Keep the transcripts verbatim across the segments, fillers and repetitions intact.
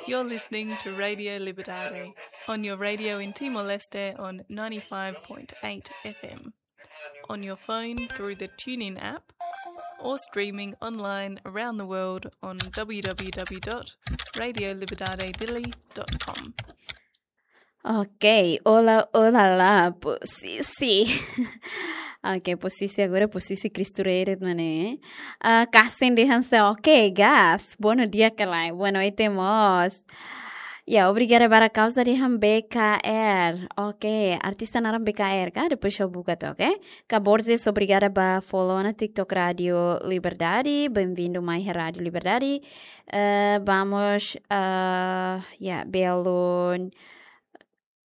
You're listening to Radio Liberdade on your radio in Timor-Leste on ninety-five point eight F M, on your phone through the TuneIn app, or streaming online around the world on w w w dot radio liberdade dili dot com. Ok, olá, olá, olá, Posisi. Ok, Posisi agora, Posisi Cristo Reret, mané. Ah, kasen dehan se, ok, guys, bom dia, kalai, boa noite, mós. Ya, obrigada ba kauza dehan B K R. Ok, artista naran B K R, ka? Depois ha'u buka took, ok? Ka Borges, obrigada ba follow ona TikTok Rádio Liberdade. Bem-vindo mai Rádio Liberdade. Eh, vamos, eh, ya, belun.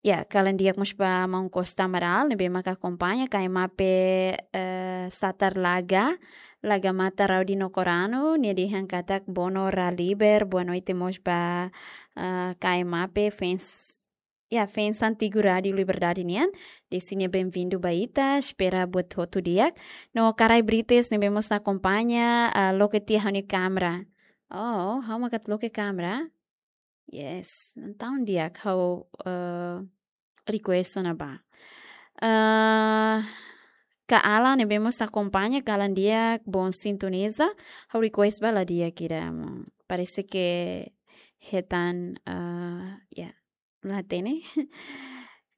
Ya, kalan di'ak mós ba maun Costa Amaral, ne'ebé maka akompaña, K M A P, eh, Satar Laga, Laga Mata Raudi Nokoranu, nia dehan katak bono raliber, boa noite mós ba, eh, K M A P, fans, ya, fans antigu Rádio Liberdade nian, dehan nia bem-vindo ba ita, espera buat hotu di'ak. No Karai Brites, ne'ebé mós akompaña, eh, loke tiha ha'u-nia kámera. Oh, ha'u maka atu loke kámera? Yes, entaun di'ak ha'u, eh, request ona ba. Eh, Ka Alan ne'ebé mós akompaña, kalan di'ak, bom sintoniza. Ha'u request ba la di'ak ida, mo. Parese ke hetan, eh, ya, la hatene.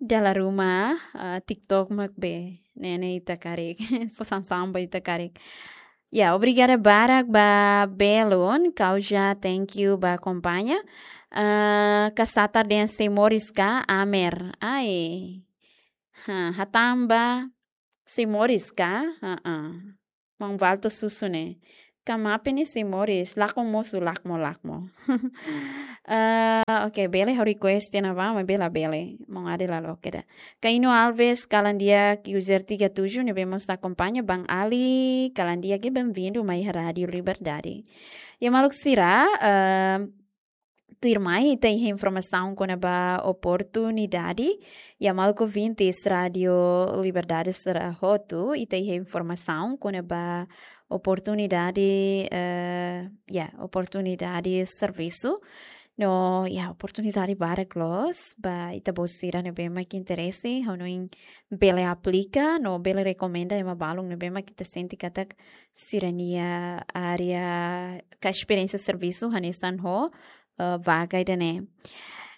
Dala ruma, eh, TikTok mak be, ne'e ne'e ita karik. Fó sansaun ba ita karik. Ya, obrigada barak ba belun, kauza, thank you ba akompaña. Eh, Ka Satar dehan sei moris ka, Amer. Ai. Ha, hatán ba, sei moris ka? Ha, ha. Maun Valto Susu ne'e. Ka Mape ne'e sei moris, lakon mosu, lakmo, lakmo. Eh, ok, bele ha'u request tiha ona ba, maibé la bele. Maun Ade la loke ida. Ka Ino Alves, kalan di'ak, user tiga tujuh, ne'ebé mós akompaña, Bang Ali, kalan di'ak, bem-vindo mai Rádio Liberdade. Ya, maluk sira, eh, tuirmai ita iha informasaun kona-ba oportunidade. Ya, maluk ouvintes Rádio Liberdade sira hotu, ita iha informasaun kona-ba oportunidade, eh, ya, oportunidade servisu. No, ya, oportunidade barak loos ba ita-boot sira ne'ebé mak interese, hanoin bele aplika, no bele rekomenda ema balun ne'ebé mak ita sente katak sira-nia área ka esperiénsia servisu hanesan ho, eh, vaga ida-ne'e.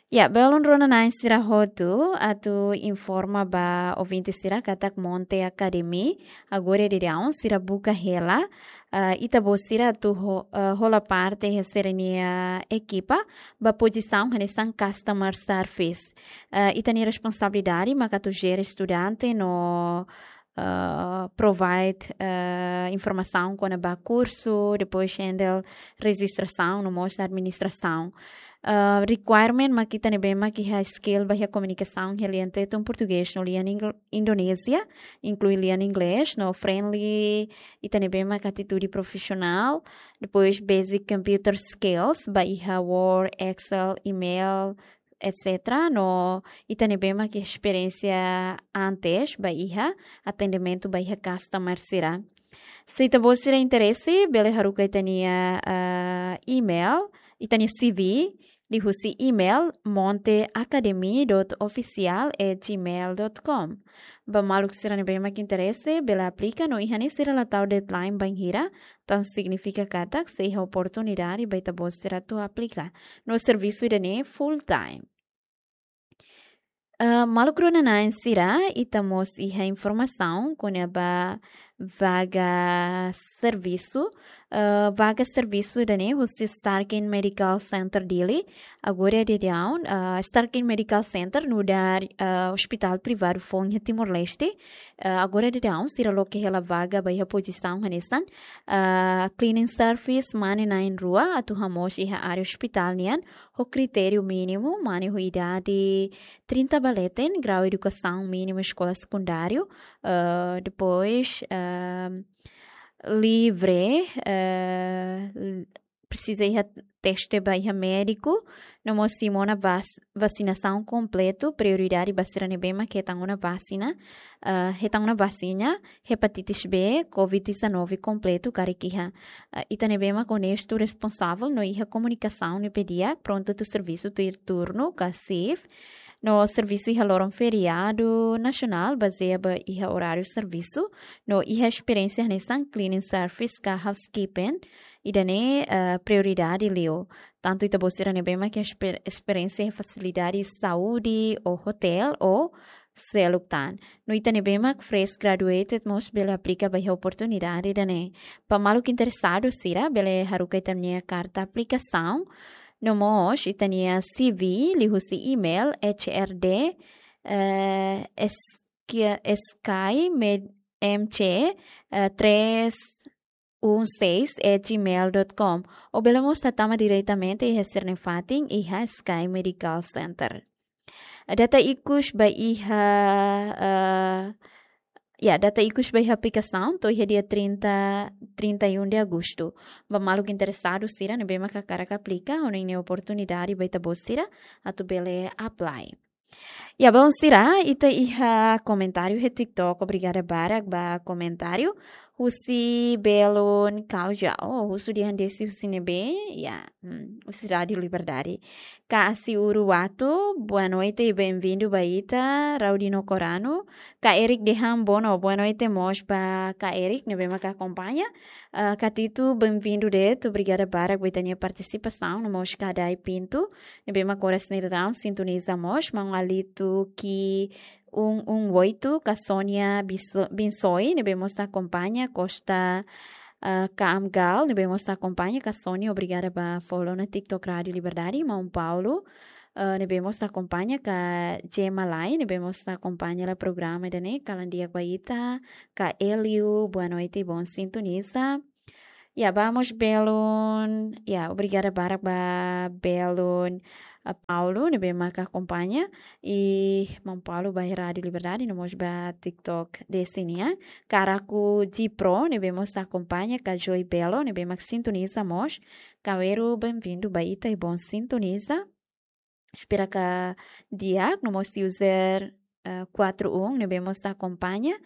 Ya, belun rona-na'in sira hotu, atu informa ba ouvinte sira katak Monte Academy, agora daudaun sira buka hela, eh, ita-boot sira atu ho-, eh, hola parte iha sira-nia ekipa, ba pozisaun hanesan customer service. Eh, ita-nia responsabilidade maka atu jere estudante no, eh, provide, eh, informasaun kona-ba kursu, depois handle rejistrasaun no mós administrasaun. Eh, requirement mak ita ne'ebé mak iha skill ba iha komunikasaun iha lian Tetun Portugés no lian Ingl-, Indonézia, inklui lian Inglés, no friendly, ita ne'ebé mak atitude profisionál, depois basic computer skills, ba iha Word, Excel, email, et cetera. No ita ne'ebé mak iha esperiénsia antes ba iha atendimentu ba iha customer sira. Se ita-boot sira interese, bele haruka ita-nia, eh, email, ita-nia C V, liuhusi email monte academy dot official at gmail dot com. Ba maluk sira ne'ebé mak interese, bele aplika no iha ne'e sira la tau deadline bainhira, entaun signifika katak sei iha oportunidade ba ita-boot sira atu aplika. No servisu ida-ne'e full time. Eh, maluk rona-na'in sira, ita mós iha informasaun kona-ba vaga servisu, eh, vaga servisu ida-ne'e husi Starkin Medical Center Dili. Agora daudaun, eh, Starkin Medical Center nu'udar, eh, ospitál privadu foun iha Timor-Leste. Eh, agora daudaun sira loke hela vaga ba iha pozisaun hanesan, eh, cleaning service mane na'in-rua atu hamoos iha área ospitál nian, ho kritériu mínimu mane ho idade trinta ba leten, grau edukasaun mínimu eskola sekundáriu, eh, depois, eh, livre, eh, l-, presiza iha teste ba iha médiku, no mós simu ona vas-, vasinasaun kompletu, prioridade ba sira ne'ebé mak hetan ona vasina, eh, hetan ona vasina hepatitis B, covid dezanove kompletu karik iha. Eh, ita ne'ebé mak onestu, responsavel, no iha komunikasaun ne'ebé di'ak, prontu atu servisu tuir turnu, ka shift, no servisu iha loron feriadu nasionál, bazeia ba iha oráriu servisu, no iha esperiénsia hanesan cleaning service ka housekeeping, ida-ne'e, eh, prioridade liu. Tantu ita-boot sira ne'ebé mak iha esper-, esperiénsia iha fasilidade saúde, ou hotel, ou seluk tan. No ita ne'ebé mak fresh graduated mós bele aplika ba iha oportunidade ida-ne'e. Ba maluk interesadu sira, bele haruka ita-nia karta aplikasaun, no mós ita-nia C V liuhusi email H R D, eh, S-, K-, S K I M C, eh, três um seis at gmail dot com. Ou bele mós hatama diretamente iha sira-nia fatin iha Sky Medical Center. Data ikus ba iha, eh, ya, data ikus ba iha aplikasaun to'o iha dia trinta, trinta e um de agosto. Ba maluk interesadu sira ne'ebé mak hakarak aplika, ha'u hanoin ne'e oportunidade ba ita-boot sira atu bele apply. Ya, baun sira, ita iha komentáriu iha TikTok, obrigada barak ba komentáriu. Husi belun Kauja, oh, husu dehan desi husi ne'ebé, ya, hmm, husi Rádiu Liberdade. Ka Asi Uru Watu, boa noite e bem-vindo ba ita, Raudino Corano. Ka Eric dehan bono, boa noite mós ba ka Eric, ne'ebé mak akompaña. Ah, ka Tito, bem-vindo de'it, obrigada barak ba ita-nia partisipasaun, no mós ka Dai Pinto, ne'ebé mak oras ne'e daudaun sintoniza mós, maun Alito Ki um um oito, ka Sónia Biso-, Binsoi, ne'ebé mós akompaña, Costa, ah, Kaamgal, ne'ebé mós akompaña, ka Sónia, obrigada ba follow ona TikTok Rádiu Liberdade, maun Paulo, ah, ne'ebé mós akompaña, ka Gemma Lai, ne'ebé mós akompaña hela programa ida-ne'e, kalan di'ak ba ita, ka Eliu, boa noite, bom sintoniza. Ya, ba mós belun, ya, obrigada barak ba belun, ah, Paulo, ne'ebé mak akompaña, i maun Paulo ba Rádiu Liberdade, no mós ba TikTok desi nian. Karaku G Pro, ne'ebé mós akompaña, ka Joy Belo, ne'ebé mak sintoniza mós. Kaweru, bem-vindo ba ita e bom sintoniza. Espera ka di'ak, no mós user, eh, quatro um, ne'ebé mós akompaña.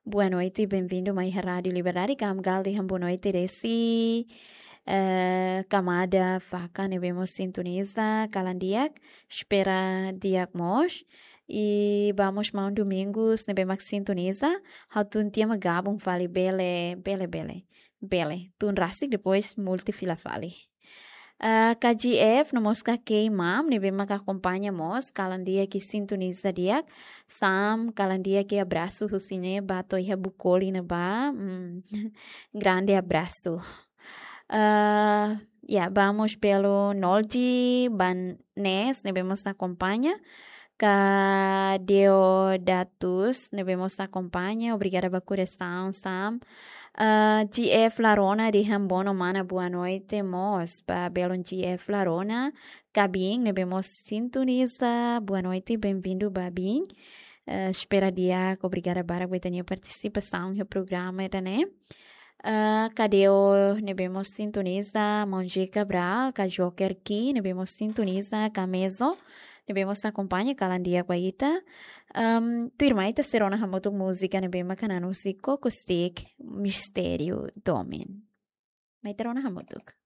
Boa noite, bem-vindo mai iha Rádiu Liberdade, Kaamgal dehan boa noite desi, eh, Kamada Faka, ne'ebé mós sintoniza, kalan di'ak, espera di'ak mós. I ba mós maun Domingos, ne'ebé mak sintoniza, ha'u tun tiha mak gabung fali, bele, bele, bele, bele. Tun rasik, depois multi fila fali. Ah, ka G F, no mós ka K Mam, ne'ebé mak akompaña mós, kalan di'ak i sintoniza di'ak. Sam, kalan di'ak i abrasu husi ne'e ba to'o iha Bukoli ne'ebá. Hmm, grande abrasu. Ah, ya, ba mós belun Nolji Banes, ne'ebé mós akompaña. Ka Deodatus, ne'ebé mós akompaña, obrigada ba korasaun, Sam. Ah, G F Larona dehan bono mana, boa noite mós ba belun G F Larona. Ka Bin, ne'ebé mós sintoniza, boa noite, bem-vindo ba Bin. Eh, espera di'ak, obrigada barak ba ita-nia partisipasaun iha programa ida-ne'e. Ah, ka Deo, ne'ebé mós sintoniza, maun J Cabral, ka Joker Ki, ne'ebé mós sintoniza, ka Mezo, ne'ebé mós akompaña, kalan di'ak ba ita. Ehm, tuirmai ita sei rona hamutuk múzika ne'ebé mak hanan husi Koko Stick, Mistériu Domin. Mai ita rona hamutuk.